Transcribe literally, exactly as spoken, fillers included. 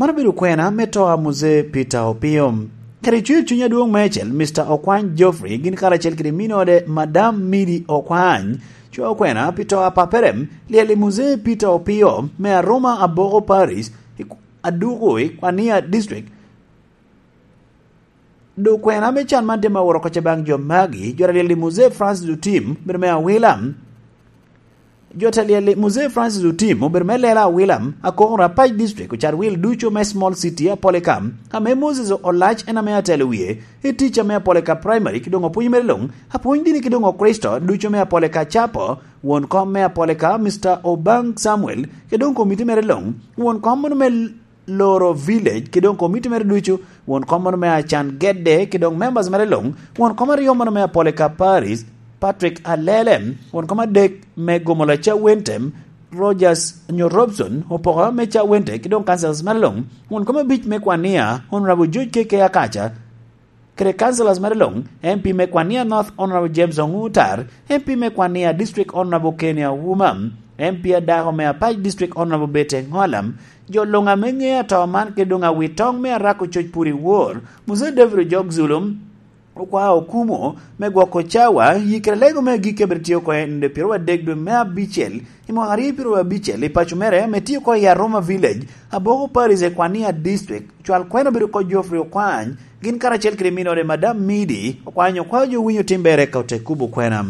Man obedo kwena me to a Muse Peter Opio. Kadi cwer cuny adwoŋ meicel, Mister Okwany Geoffrey, gin karacel kede minode, Madam Midi Okwany, cwa okwena pi to a papere, lyel i Muse Peter Opio me Aroma Aboko Parish, i K-, Aduku i Kwania District. Dok kwena me can man tye ma oworo kocca baŋ jo magi, jo a lyel i Muse Francis Otim, bedo me Awila. Jo te lyel i Muse Francis Otim obedo me lela Awila, Akokoro Apac District, ocat wil ducu me Small City Apolika, ame Moses Olac en ame atelo wie, i tic ame Apolika Primary, ki doŋ opwony mere luŋ, apwony dini ki doŋ Okricito ducu me Apolika Capo, won kom me Apolika, Mister Obang Samuel, ki doŋ komiti mere luŋ, won kom mono me Loro Village, ki doŋ komiti mere ducu, won kom mono me Acan Gedde, ki doŋ members mere luŋ, won kom aryo mono me Apolika Parish, Patrick Alele, won kom adek me Gomola Cawentem, Rogers nyo Robson, opoko me Cawente, ki doŋ councillors mere luŋ, won kom abic me Kwania, Honorable George K K Akaca, kede councillors mere luŋ, M P me Kwania North, Honorable James Ongutar, M P me Kwania District, Honorable Kenny Auma, M P adako me Apac District, Honorable Bete Ngolam, jo luŋ ame ŋeo ato man kede doŋ awitoŋ me Arako Coc Puri Wor, Muse David Ojok Zulum, Okwao Okumo me gwoko cawa, yi kede lego me agikki a bene tye oko i nino pyeraryo adek dwe me abicel, i mwaka aryo pyeraryo abicel, i paco mere ame tye oko i Aroma Village, Aboko Parish, i Kwania District. Cwal kwena obedo oko Geoffrey Okwany, gin karacel kede minode Madam Midi Okwany, okwao jo winyo tim ber eka ote kubo kwena.